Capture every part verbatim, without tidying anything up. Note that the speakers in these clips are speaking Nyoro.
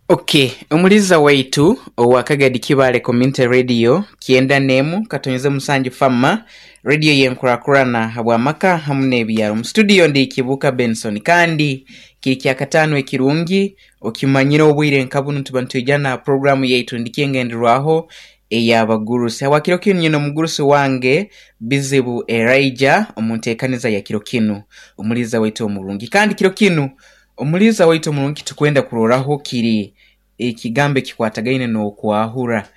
Okay, omuliza waitu owa Kagadi Kibaale Community Radio kyenda n'emu katonyeze musanju fama radio yenkurakurana habw'amaka hamu n'ebyaro. Mu studio ndi Kibuuka Benson kandi kiri kyakataano ekirungi okimanyire obwire nka bunu tuba nitwija na programu yaitu ndikyengenderwaho ey'abagurusi. Habwa kiro kinu nyine omugurusi wange Bizibu Elijah omu nteekaniza ya kiro kinu, omuliza waitu omurungi. Kandi kiro kinu omuliza waitu omurungi tukwenda kuroraho kiri ekigambo ekikwatagaine n'okwahura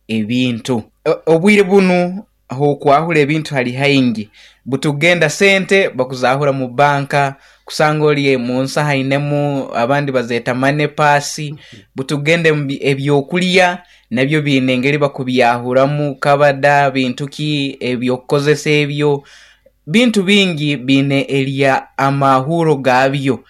ebintu. Obwire bunu okwahura ebintu hali haingi, butugenda sente bakuzahura mu banka, kusanga ori mu nsaho ainemu, abandi bazeeta money purse, butugenda ebyokulya nabyo biine engeri bakubyahuramu, kabada bintu ki ebyokukozesa ebyo, bintu bingi biine erya amahuro gaabyo.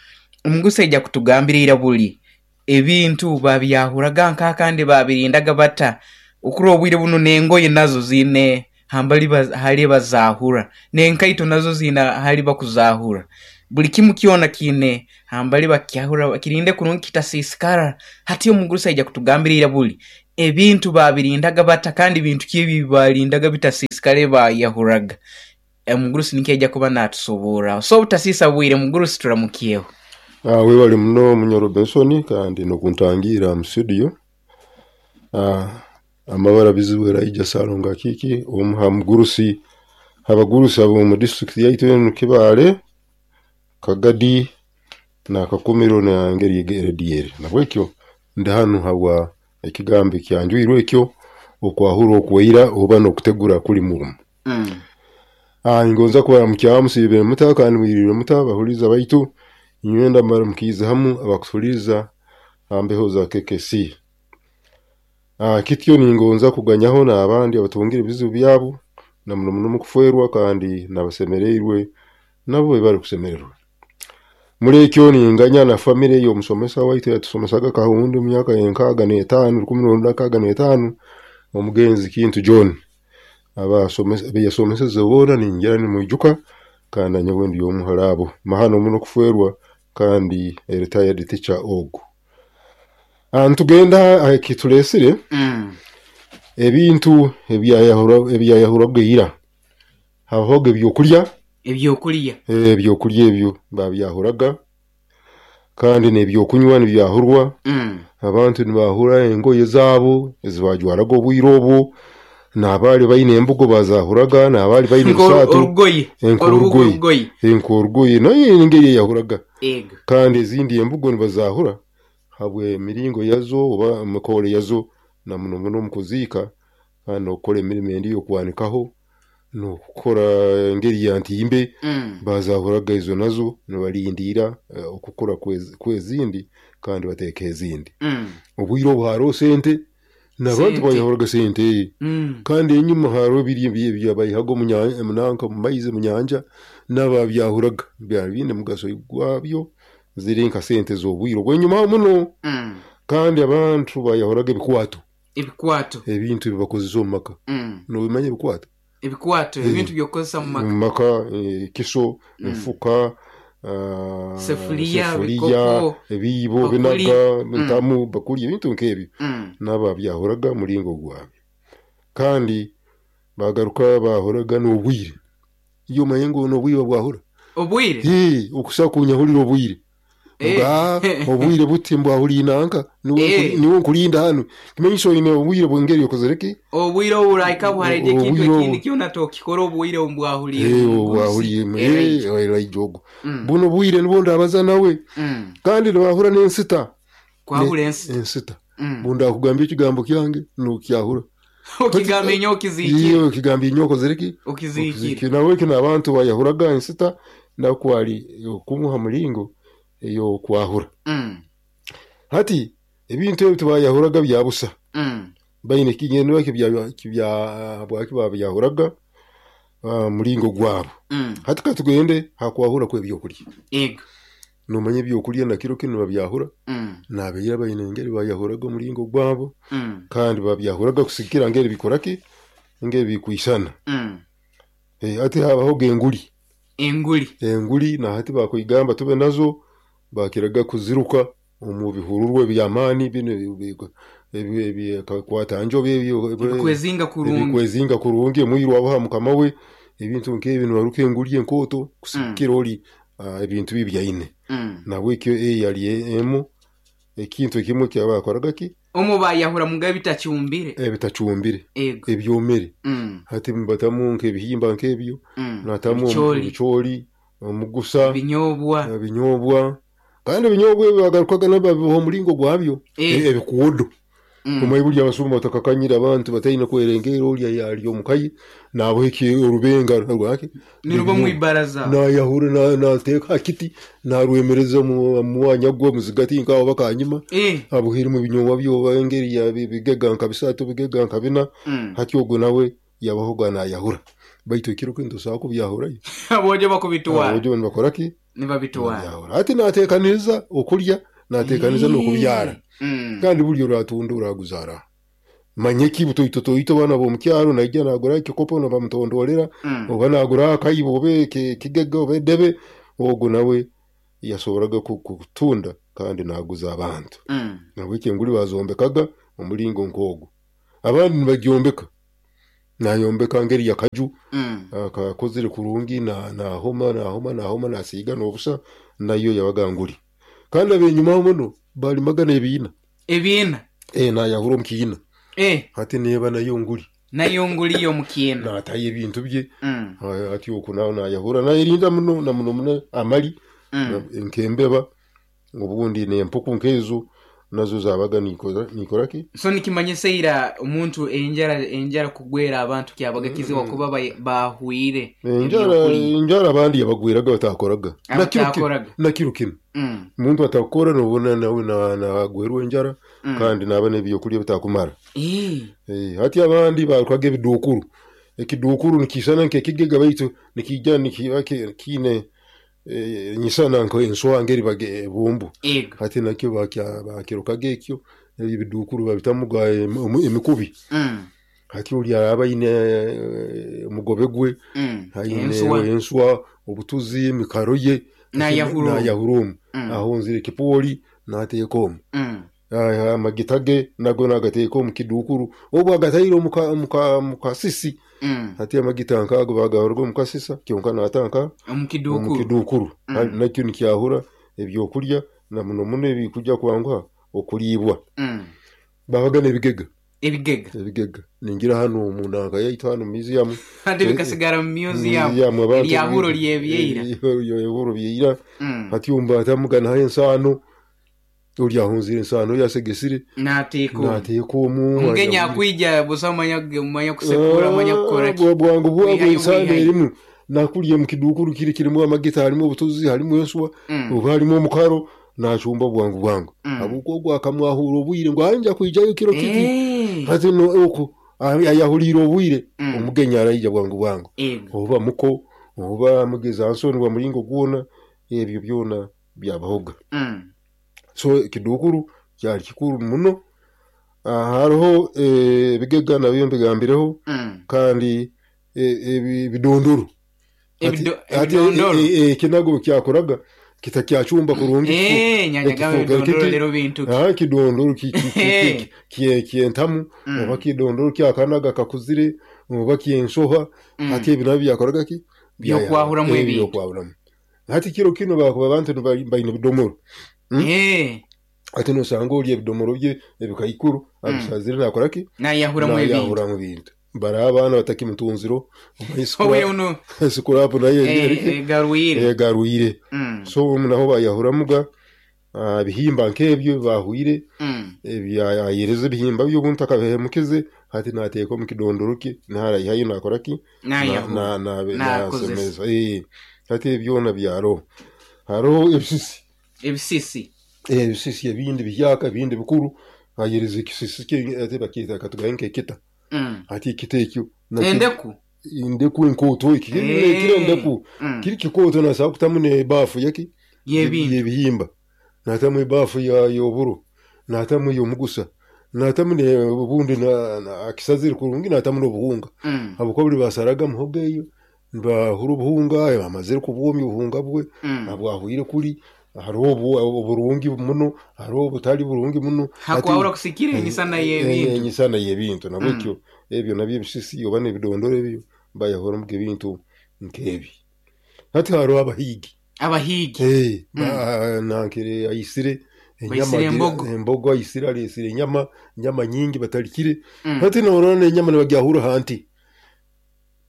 Omugurusi aija kutugambira ira buli ebintu babyahuraga nka kandi babirindaga bata, okurora obwire bunu n'engoye nazo ziine hambali hali bazahura, n'enkaito nazo ziine hali bakuzahura. Buli kimu kyona kiine hambali bakyahura bakirinde kurungi kitasiisikara. Hati omugurusi aija kutugambira ira buli ebintu babirindaga bata kandi bintu ki ebi barindaga bitasiisikara ebi bayahuraga. Omugurusi nikyo aija kuba naatusoborraho. So obutasiisa bwire mugurusi turamukyeho. Ah, webale muno Munyoro Benson kandi n'okuntangiira mu studio. Ah, amabara Bizibu Elijah Ssalongo Akiiki omu ha mugurusi abagurusi ab'omu disitulikiti yaitu enu Kibaale, Kagadi na Kakumiro n'engeri eri Nahabwekyo ndi hanu habwa ekigambo ekyanjwirwe ekyo okwahura okweira oba n'okutegura kuli murumu. Mm. Ah, ningonza kubaramukyamu musiibire muta kandi mwiriire muta abahuliiriza baitu nywenda mbaramukiize hamu abakutuhuliiriza ha mbeho za K K C. Ah, kityo ningonza kuganyaho n'abandi abatungire ebizibu byabo na muno muno mukufwerwa kandi n'abasemereirwe nabo bari kusemererwa. Muri ekyo ninganya na famire y'omusomesa waitu yatusomesaga Kahundi mu myaka y'enkaaga n'etaano, rukumi rwenda nkaaga n'etaano, omugenzi Kintu John. Abasomesa beyasomeseze boona ningira nimwijuka kandi nanyowe ndi omu hali abo. Mahano muno kufwerwa kandi a retired teacher ogu. Ah, nitugenda aha ekituleesire Mm. ebintu ebyayahura ebyayahuraga ira. Habahoga ebyokulya, Ebyokulya. Ebyokulya ebyo babyahuraga kandi n'ebyokunywa nibyahurwa. Mm. Abantu nibahura engoye zaabo ezibajwaraga obwire obwo, n'abaali baine embugo bazahuraga, n'abaali baine ebisaato Orugoye. Nk'orugoye. Orugoye. Nk'orugoye nayo engeri eyahuraga. Ego. Kandi ezindi embugo nibazahura habw'emiringo yazo oba emikoro yazo na muno muno omu kuziika kandi n'okukora emirimo endi ey'okwanikaho n'okukora engeri ya ntimbe. Mm. Bazahuraga ezo nazo nibalindiira eh, okukura kw'ezi- kw'ezindi kandi bateeka ezindi. Mm. Obwire obu haroho sente n'abantu Sente. bayahuraga sente. Mm. Kandi enyuma haroho biri ebyabayihaga omu nya- munanka mu maizi mu nyanja n'ababyahuraga byari biine mugaso gwabyo ziri nka sente z'obwire obw'enyuma muno. Mm. Kandi abantu bayahuraga ebikwato. Ebikwato. Ebintu ebi bakozesa omu maka. Mm. Nobimanya ebikwato? Ebikwato, ebintu by'okukozesa mu maka. Mu maka, ekiso, Mm. enfuka, ah, Sefuliya, sefuliya, bikopo, ebiibo, bakuli. binaga, Mm. ntamu, bakuli, ebintu nk'ebyo. Mm. N'ababyahuraga muringo gwabyo. Kandi bagaruka bahuraga n'obwire. Iyo omanye ngu n'obwire babwahura. Obwire? Hee, okusa kunyahurira obwire. Eh. Nga obwire buti mbwahuriire nanka niwe Eh. nkuri- niwe nkurinda hanu. Kimanyiso oine obwire bw'engeri okozere ki? Obwire oburaika buhareje ekintu Obwire obu. ekindi kyona tokikora obwire obu bwahuriire. Eh, Omugurusi. obwahuriire Elijah. Elijah ogu. Mm. Buno obwire nibwo ndabaza nawe. Mm. Kandi nibahura n'ensita. Kwahura ensita. Ensita. Mm. Bundakugambia ekigambo kyange nokyahura. Okigamba enyo okiziikire. Iyo okigamba inyo okozere ki? Okiziikire. Nahabwekyo n'abantu bayahuraga ensita nakwali okumuha muringo ey'okwahura. Mm. Hati ebintu ebi tibayahuraga bya busa. Mm. Baine ekigendererwa kibya kibya habwaki babyahuraga ah, muringo gwabo. Mm. Hati katugende ha kwahura kw'ebyokulya. Ego. Nomanya ebyokulya na kiro kinu babyahura. Mm. N'abaira baine engeri bayahuraga omuringo gwabo Mm. kandi babyahuraga kusigikira ngeri bikora ki ngeri bikwisana. Mm. Eh, hati habahoga enguli. Enguli. Enguli na hati bakuigamba tube nazo bakiraga kuziruka. Omu bihururwe eby'amaani binu ebikwata njobe ebikwezinga kurungi, ebikwezinga kurungi, omwiru abaha mukama we ebintu nk'ebi, nibaruka enguli enkooto kusigikira oli ebintu bye byaine. Nahabwekyo eyo yali emu ekintu ekimu ekyabakoraga ki? Omu bayahuramuga ebitacumbire, ebitacumbire, ebyomere. Hati nibatamu nk'ebihimba nk'ebyo, natamu ebicooli, omugusa, ebinyobwa, ebinyobwa. Kandi ebinyobwa ebi bagarukaga nabyo babiboha omulingo gwabyo, ebikwodo. Omanyi buli abasuma batakakanyire abantu bataine kwerengeera, oli ali omukaye naboha orubenga rwaki niruba mwibaraza, nayahura nateeka ha kiti narwemereza omu mwanya gwe muzigati nkaho bakanyima, abuhirimu ebinyobwa bye oba engeri ya bigega nka bisatu, bigega nka bina. Hati ogwo nawe yabahoga nayahura, baitu ekiro kinu tosobola kubyahurayo, abojo bakubitwara, abojo nibakora ki? Nibabitwara. Hati nateekaniza okulya, nateekaniza n'okubyara. Kandi buli oratunda oraguzaara manye ki butoito toito baana b'omukyaro naija nagura ekikopo nibamutondorera, oba nagura akaibo oba ekigega oba edebe, ogwo nawe yasoboraga kutunda kandi naguza abantu. Nahabweki enguli bazombekaga omulingo nk'ogwo. Abandi nibagyombeka, nayombeka ngeri yakaju akakozire kurungi, nahoma nahoma nahoma nasiiga n'obusa, nayo yabaga nguli. Kandi abenyumaho muno balimaga n'ebiina. Ebiina? Eh, nayahura omu kiina. Hati neeba nayo nguli. Nayo nguli y'omu kiina. Natayo ebintu bye. Hati oku nawe nayahura nayerinda muno na muno muno amali nk'embeba obundi n'empuku nk'ezo nazo zabaga nikora ki? So nikimanyisa ira omuntu enjara enjara kugwera abantu kyabaga kizibu kuba bahwire. Enjara enjara abandi yabagweraga batakoraga. Na kiro kinu omuntu atakora nobona nawe nagwerwa enjara, kandi naba n'ebyokulya bitakumara. Hati abandi barukaga ebidukuru. Ekidukuru nikisana nk'ekigega baitu nikijja nikiba kiine nyisana nk'enswa ngeri ebumbu. Hati nakyo bakirukaga ekyo, ebidukuru babitamuga emikubi. Hati oli araba aine omugobe gwe, aine enswa, obutuzi, emikaro ye, nayahura omu, ahonzire ekipooli nateeka omu, amagita ge nago nagateeka omu kidukuru, obu agataire omu kasisi. Hati amagita nk'ago bagahuraga omu kasisa kyonka naata omu kidukuru, nakyo nikyahura ebyokulya na muno muno ebikujja kwanguha okuliibwa. Babaga n'ebigega. Ebigega. Ebigega. Ningira hanu omu nanka yaitu hanu museum. Hati bikasigara mu museum. Eryahuro ly'ebyeira. Eryahuro byeira. Hati ombatamuga naho ensaano, oli ahonzire ensaano yasegesire nateeka omu. Nateeka omu. Omugenyi akwija busa manya manya kusekura manya kukora ki. Bwangu bwangu ensaano erimu nakulya mu kidukuru kiri kirimu amagita, harimu obutuzi, harimu enswa, oba harimu omukaro, nacumba bwangu bwangu. Habwokuba ogwo akamwahura obwire ngu anja kwijayo kiro kiti. Hati oku ayahuriire obwire omugenyi araija bwangu bwangu. Oba muko oba mugeza nsoni bwa mulingo gwona, ebyo byona byabahoga. So ekidukuru kyali kikuru muno. Hariho ebigega nabyo mbigambireho, kandi ebidondoro. Ebidondoro. Ekinago kyakoraga kitakyacumba kurungi. Kidondoro ky'entamu oba kidondoro kyakanaga kakuzire oba ky'ensoha. Hati ebi nabyo byakoraga ki? Byokwahuramu ebintu. Byokwahuramu. Hati kiro kinu bakuba abantu baine ebidomoro. Hati nosanga oli ebidomoro bye ebikaikuru abisazire nakora ki? Nayahuramu ebintu. Nayahuramu ebintu. Bari abaana batakimutunziro sikurapu nayo egarwire. So naho bayahuramuga ebihimba nk'ebyo bahwire, ayereza ebihimba bye obuntu akabihemukize, hati nateeka omu kidondoro kye narayihayo nakora ki? Nasemeza. Hati ebyona byaroho. Hariho ebisisi. Ebisisi. Ebisisi ebindi bihyaka ebindi bikuru, ayereza ekisisi kye ate bakyeta katugaye nk'ekita. Hati ekita ekyo endeku endeku enkooto kiri endeku kiri kikooto nasobola kutamu n'ebaafu yaki y'ebihimba, natamu ebaafu y'oburo, natamu ey'omugusa, natamu obundi akisazire kurungi, natamu n'obuhunga. Habwokuba buli basaraga muhogo eyo nibahura obuhunga, bamazire kubwomya obuhunga bwe abwahwire kuri Hariho oburungi muno, hariho obutali burungi muno. Hakwahura kusikira enyisana y'ebintu. Enyisana y'ebintu nabwekyo ebyo nabyo ebisisi oba n'ebidondoro ebyo bayahuramu ebintu nk'ebi. Hati hariho abahigi. Abahigi. Eh, nankire ayisire enyama, embogo. Embogo ayisire, alesire enyama, enyama nyingi batalikire. Hati norora enyama nibagyahura hanti.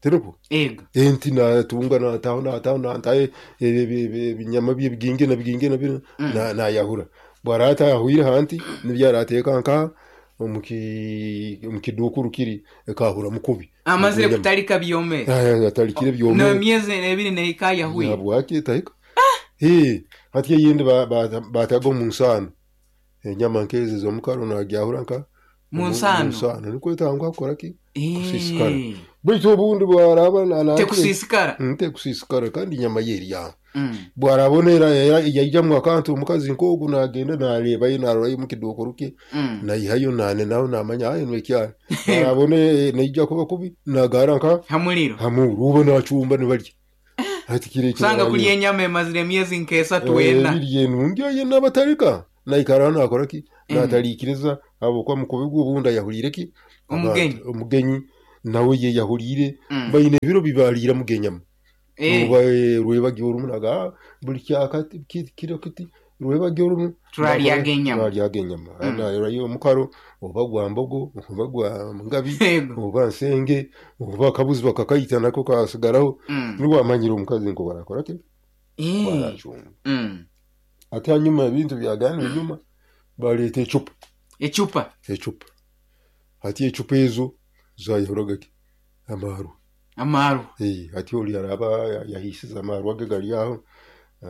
Teruko? Ego. Enti natunga nataho nataho nataye ebinyama bye biginge na biginge na bino na nayahura. Bwarata yahuire hanti nibyarateka nka omuki omukidukuru kiri ekahura mukubi. Amazire kutalika byome. Ah, atalikire byome. No myezi ebiri nehika yahuye. Nabwaki tahika. Eh, hati yindi batago mu nsano. Enyama nkeze zo mukaro nagyahura nka mu nsano. Mu nsano niko etangwa kukora ki? Kusisikara. Baitu obundi bwaraba na tekusisikara. Tekusisikara kandi inyama yeri ya. Bwarabonera yajamwe akantu omukazi nkogu nagenda nareba yo narora mu kidukuru ke. Nayihayo nane naho namanya ayi nwekyara. Bwarabone naija kuba kubi nagara nka hamuliro. Hamuru ubo nacumba nibarya. Hati kire kire. Sanga kulya enyama emazire emyezi nk'esatu wena. Ebirye nungi ye nabatarika. Naikara nakora ki? Natalikiriza abo kwa mukubi gw'obunda yahulire ki? Omugenyi. Omugenyi nawe ye yahulire bayine biro bibalira mugenyama. Muba rwebagyo rumunaga buli kyakati kiro kiti rwebagyo rumu turalya genyama. Turalya genyama. Na rayo mukaro oba gwa mbogo oba gwa ngabi oba nsenge oba kabuzi bakakayita nako kasigaraho niwa amanyira omukazi nko barakora ki? Eh. Ate hanyuma ebintu byagana enyuma baleta ecupa. Ecupa. Ecupa. Hati ecupa ezo zayahuraga ki? Amaru. Amaru. Eh, hati oli araba yahisiza amaru age gali aho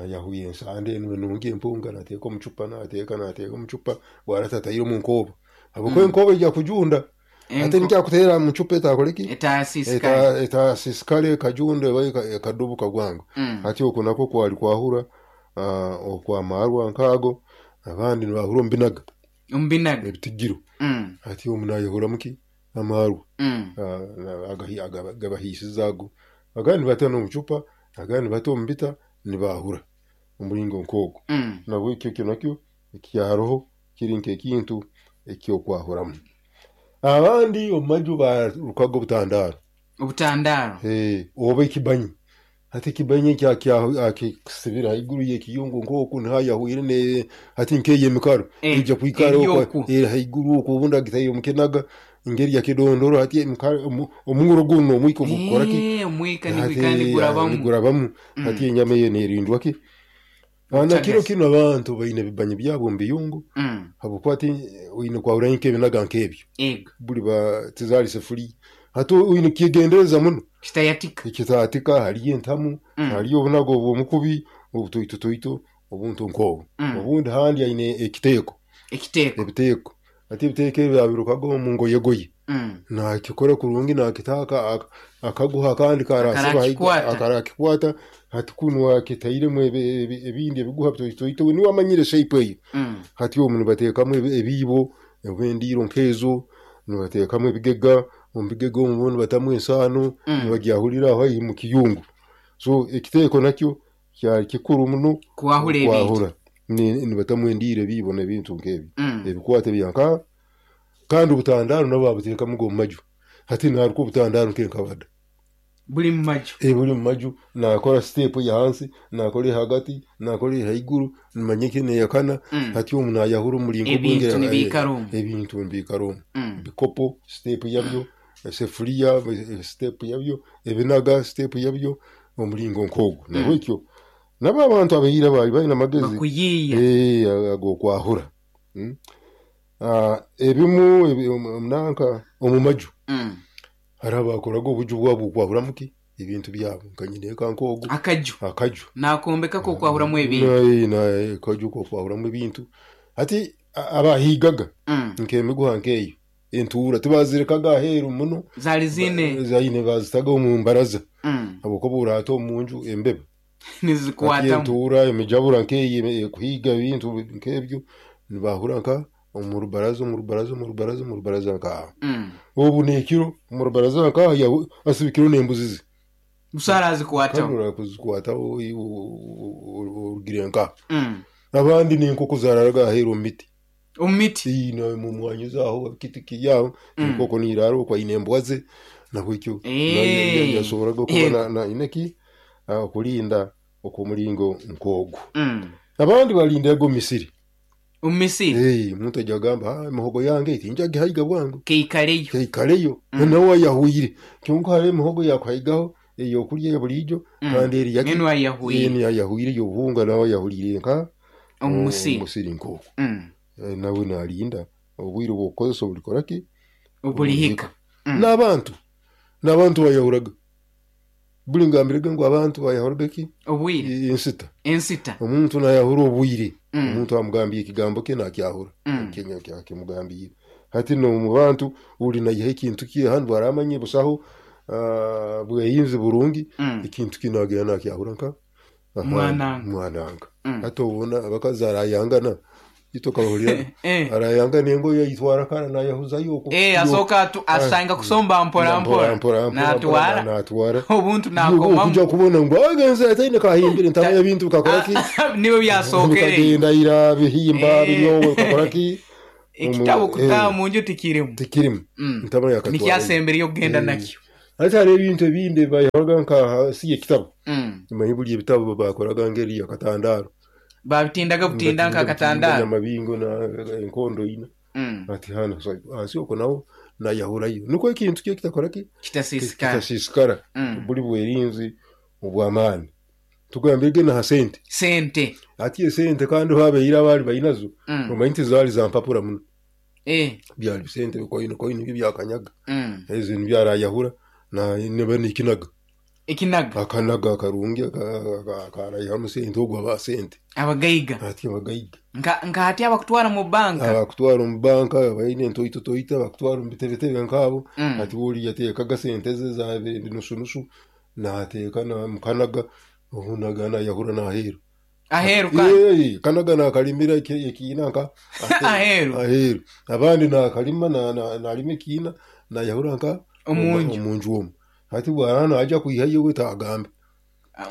yahuye ensande nungi empunga nateeka omucupa nateeka nateeka omucupa bwaratataire mu nkoba. Habwokuba enkoba ijja kujunda. Ate nkyakutera mu cupa etakoleki? Etasisikale. Etasisikale kajunda ekadubu kagwango. Hati okwo nako kwali kwahura okwa marwa nkago abandi nibahura ombinaga. Ombinaga. Ebitigiro. Hati omunayahura muki? Amarwa. Agabahisizago. Agandi batana omucupa, agandi bata ombita nibahura omulingo nkogo. Nabwo ekyo kyo nakyo ekyaroho kiri nk'ekintu ekyokwahuramu. Abandi omumaju barukaga obutandaro. Obutandaro. Eh, oba ekibanyi. Hati ekibanyi kya kya kisibira haiguru y'ekiyungu nkoku nhayahuire ne hati nkeye emikaro ijja kwikara okwo haiguru okwo obundi agitayo omukenaga ingeri ya kidondoro hati omunguro guno omwiko gukora ki? Eh, omwika nigwikandi gurabamu. Gurabamu. Hati enyama eyo nerindwa ki? Ana kiro kino abantu baine bibanyi byabo mbiyungu. Habwokuba ati oyine kwahura nk'ebinaga nk'ebyo. Ego. Buli ba tizali sefuri. Hati oyine kyegendereza muno. Kitayatika. Kitayatika haliyo entamu, haliyo obunago obw'omukubi, obutoitotoito, obuntu nkobo. Obundi handi aine ekiteeko. Ekiteeko. Ebiteeko. Ati ebiteeko ebyo byabirukaga omu ngoyegoye. Nakikora kurungi nakitaka akaguha kandi karasiba akarakikwata hati kunwa kitairemu ebindi ebiguha bitoitoito niwe amanyire shape eyo. Hati omu nibateekamu ebiibo ebendiro nkezo nibateekamu ebigega omu bigega omu nibatamu ensaano nibagyahurira aho mu kiyungu. So ekiteeko nakyo kyali kikuru muno kwahura ebintu. Nibatamu endiro ebiibo n'ebintu nk'ebyo ebikwate byanka kandi obutandaro nabo babuteekamu omu maju. Hati naruka obutandaro nk'enkabada buli mu maju. Eh, buli mu maju nakora step ya hansi nakora hagati nakora haiguru nimanye neyakana. Hati omu nayahura omulingo ebintu nibikara ebintu nibikara bikopo step yabyo, sefuria step yabyo, ebinaga step yabyo omulingo nkogo. Nabwekyo nabo abantu abaira bali balina amagezi bakuyiya eh agokwahura. Ah, ebimu omunanka omumaju hari abakoraga obuju bwabo okwahura muki ebintu byabo nkanyine nkogo akaju akaju nakombeka ko kwahuramu ebintu na akaju ko kwahuramu ebintu. Hati abahigaga nk'emiguha nkeyo entura tibazirekaga aheru muno zali zine zaine bazitaga omu mbaraza habwokuba urata omunju embeba nizikwata entura emijabura nkeyo kuhiga ebintu nk'ebyo nibahura nka omu rubaraza omu rubaraza omu rubaraza omu rubaraza nka obu nekiro omu rubaraza nka asibikiro n'embuzi ze Busaara azikwataho. Kandi urakuzikwataho orugire nka. Mm. Abandi n'enkoko zararaga aheeru omu miti. Omu miti? Ii, mu mwanya zaaho kiti kiryaho, Mm. enkoko niiraara okwo aine embwa ze, nabwekyo Eh. yasoboraga kuba Eh. na- na aine ki okulinda okw'omulingo nk'ogwo. Mm. Abandi balindaga omu misiri. Omu misiri? Ee, omuntu ajya agamba, "Ah, emihogo yange tinjagihaiga bwangu." Keikareyo. Keikareyo. Mm. Nawe ayahwire. Kyonka hariho emihogo yakuhaigaho ey'okurya ya buriijo Mm. kandi eri yaki- Enu ayahwire. Enu ayahwire y'obuhunga nawe ayahuriire nka Omu musiri. omu musiri nk'okwo. Mm. Eh, nawe nalinda obwire bw'okukozesa obulikora ki? Obulihika. Mm. N'abantu. N'abantu bayahuraga. Buli ngambirege ngu abantu bayahuraga ki? Obwire. Ensita. Ensita. Omuntu nayahura obwire. Mm. Omuntu amugambiye ekigambo kye nakyahura. Mm. Kenya kyakimugambiye. Hati no mu bantu uli nayiha ekintu kye hanu baramanye busaho, ah, bweyinzi burungi. Mm. Ekintu kye nagenda nakyahura nka aha, Mwananga. Mwananga. Mm. Hati obona abakazi arayangana. Ito kabahurira. Eh. Arayangana engoye yitwara kara nayahuzayo okwo. Eh, asoka atu, asanga kusomba mpora mpora. Mpora, mpora, Natwara. natwara. Obuntu nakomamu. Okuja kubona ngu agenze ataine kahimbire ntamanya bintu bikakora ki? Niwe byasokere. Bikagenda ira bihimba Eh. binyowe bikakora ki? Ekitabo Omu- kutaha eh. mu nju tikirimu. Tikirimu. Mm. Ntamanya yakatwara. Nikyasembere okugenda Eh. nakyo. Hati hari ebintu ebindi bayahoraga nka si ekitabo. Mm. Manyi buli ebitabo bakoraga ngeri yakatandaro. Babitindaga butinda nka katandaro. Amabingo na enkondo ina. Mm. Ati hano so ansi okwo nawo nayahurayo. Niko ekintu kye kitakora ki? Kitasisikara. Kitasisikara. Mm. Buli bwerinzi obw'amaani. Tugambirege na sente. Sente. Ati esente kandi habeire abali bainazo. Mm. Omanyi nti zaali za mpapura muno. Eh. Byali bisente bikoino koino byo byakanyaga. Mm. Ezo nibyarayahura na neba nikinaga. Ekinaga. Akanaga akarungi akarayihamu sente ogwo aba sente. Abagaiga. Ati abagaiga. Nka, nka ati abakutwara mu banka. Abakutwara mu banka baine entoito toita abakutwara mu bitebetebe nkabo. Mm. Ati boli yateekaga sente ze za nusu nusu nateeka na mukanaga ohunaga nayahura naheru. Aheru kandi. Ee, kanaga nakalimira ekiina nka Aheru. Aheru. Abandi nakalima na, na, nalima ekiina nayahura nka Omunju. Omunju omu. Hati bwana aja kuihayo we tagambe.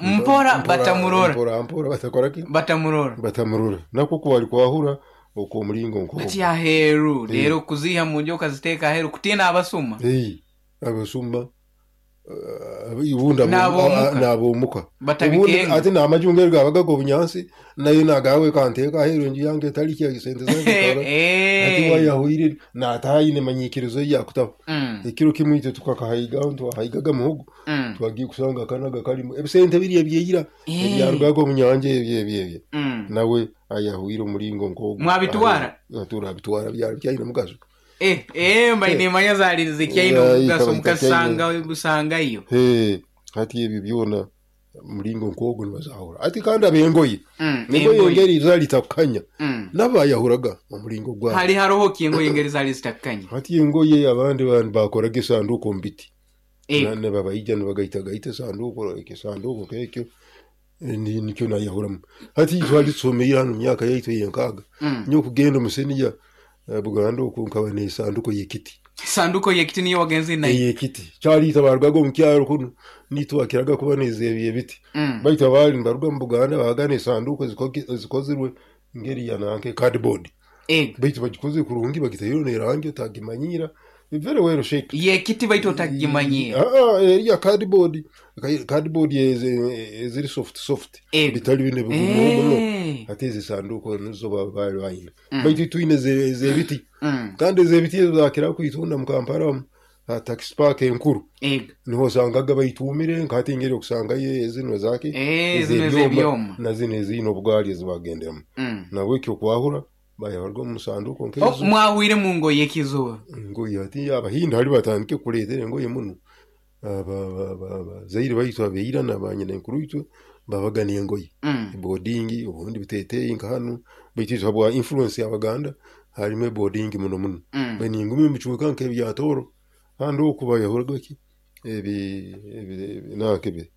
Mpora batamurora. Mpora mpora batakora ki? Batamurora. Batamurora. Nako kwali kwahura okwo omulingo nko. Ati aheru Eh. rero kuziha mu nju okaziteeka aheru kutina abasuma. Eh, abasuma. Uh, ibunda N'ab'omuka. n'ab'omuka. Batabikenga. Ubundi ati n'amajungeri gabaga go bunyansi nayo nagawe kanteka aheru enju yange etali kya sente zange tora. Eh. Ati wayahwire nataayine manyikirizo yakutaba. Mm. Ekiro kimwe itwe tukakahaiga twahaigaga muhogo. Mm. Twagiye kusanga akanaga karimu ebisente biri ebyeyira Eh. ebyarugaga omu nyanja ebyo ebyo ebyo. Mm. Nawe ayahwire omulingo nk'ogwo. Mwabitwara? Turabitwara byari byayine mugaso. Eh, eh, mba Eh. nemanya zali zikyaine Eh, omugaso ikaba mukasanga busangayo. Eh, hati ebyo byona mulingo nk'ogwo nibazahura. Ati kandi abengoye. Mm, Engoye engoye. engeri zali takukanya. Mm. Nabo bayahuraga omulingo gwabo. Hali haroho ki engoye engeri zali zitakukanya? Hati engoye abandi bantu bakoraga esanduuko omu biti. Eh. Na, ne babaija nibagaitagaita esanduuko, ekisanduuko kekyo. Eh, ni-, nikyo nayahuramu. Hati twali tusomeire hano mu myaka yaitu ey'enkaaga. Mm. Nyowe kugenda omu seniya, eh, Buganda okwo nkaba n'esanduuko y'ekiti. Sanduko y'ekiti niyo wagenze nayo? Ey'ekiti. Kyali barugaga omu kyaro kuno, nitwakiraga kuba n'ezeebya ebiti. Mm. Baitu abaali nibaruga mu Buganda babaga n'esanduuko ezikoki-, ezikozirwe ngeri ya nanke cardboard. Eh. Baitu bagikoze kurungi bagitayo n'erangi otagimanyira. Very well shaped. Y'ekiti baitu otagimanyira. Ah, ah, eriya cardboard. Cardboard eze-, eziri soft soft. Eh. Bitali bine bigumu muno. Eh. Ate ezi sanduuko nizo ba-, bali bayina. Mm. Baitu twine ze-, ez'ebiti. Mm. Kandi ez'ebiti ezo zakira kwitunda mu Kampala omu, ha taxi park enkuru. Eh. Niho osangaga baitumire nkati engeri okusangayo ezino zaki, Eh, zino ez'ebyoma, ez'ebyoma. na zino ezine obugaali ezibagenderamu. Mm. Nabwekyo okwahura bayabarwa omu sanduuko nk'ezo. Oh, mwahwire mu ngoye ekizuba. Engoye ati abahindi hali batandike kuleetera engoye muno. Aba-, aba-, aba-, abazaire baitu abeira na banyina enkuru itwe babaga n'engoye. Mm. Ebodingi obundi biteeteeyi nka hanu baitu itwe habwa influence y'Abaganda harimu ebodingi muno muno. Mm. Baningumi omu bicweka nk'ebya Tooro handi oku bayahuraga ki ebi, ebi, ebi, nanka ebi,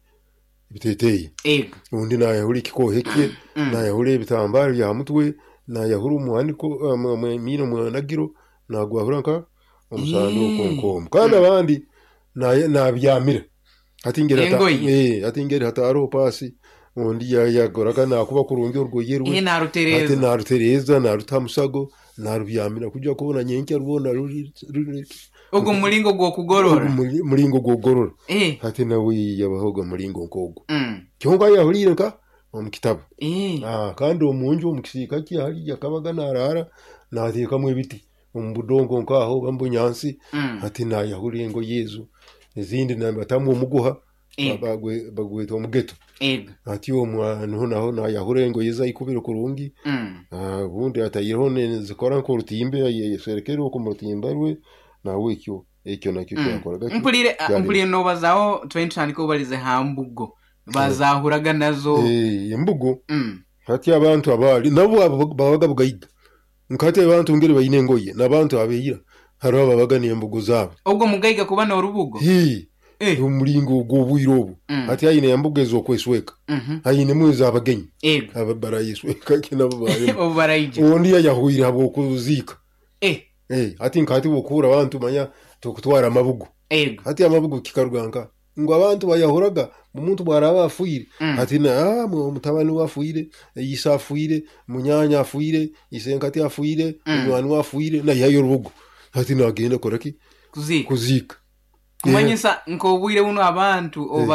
ebiteeteeyi. Ego. Obundi nayahura ekikohe kye, Mm. nayahura ebitambaaro bya mutwe, nayahura omuhaniko, um, um, emiino mwanagiro, nagwahura nka omusanduuko Mm. nk'omu. Kandi Mm. abandi naye-, nabyamira. Hati ngeri hata- Engoye. Eh, hati ngeri hataroho paasi, ondi ya- yakoraga nakuba kurungi orugoye rwe. Eh, Hati narutereeza. Narutereeza, naruta musago, narubyamira kujya kubona nyenkya rwona ruri ruri- Ogwo mulingo gw'okugorora. Ogu muri- mulingo gw'okugorora. Eh. Hati nawe yabaho mulingo nk'ogwo. Mm. Kyonka yahuliire nka omu kitabu. Eh. Ah, kandi omunju omu kisiika kye hali yakabaga naraara nateekamu ebiti omu budongo nk'aho oba mu bunyansi. Mm. Hati nayahura engoye ezo, ezindi nabatamu omuguha. Eh. bagwe- bagweta omugeto. Ego. Hati omwo niho naho nayahura engoye ze ayikubire kurungi. Mm. Ah, obundi ataireho zikora nk'orutimbe, ayeserekere okwo mu rutimba rwe, nawe ekyo ekyo nakyo Mm. kyakoraga ki? Mpulire Kyali- mpulire nobazaho twine tutandika obalize ha mbugo bazahuraga nazo. Eh, embugo. Mm. Hati abantu abaali nabo abo babaga bugaiga, nkati abantu ngeri baine engoye n'abantu abeira hariho ababaga n'embugo zaabo. Ogwo mugaiga kuba n'orubugo. Hii, Eh. omulingo ogw'obwire obwo. Mm. Hati aine embugo ez'okwesweka, Mhm. ainemu ez'abagenyi. Ego. Aba barayesweka ki nabo baremu. Obu baraija. Ondi yayahwire habw'okuziika. Eh. Eh, hati nkati bwokuhura abantu manya tukutwara amabugo. Ego. Hati amabugo kikaruga nka ngu abantu bayahuraga omuntu bwaraba afuire. Mm. Hati na ah, mu- mutabani we afuire, ise afuire, munyanya afuire, isenkati afuire, Mm. munywani we afuire, nayihayo orubugo, hati nagenda kora ki? Kuziika. Kuziika. Kumanyisa nk'obwire buno abantu obu.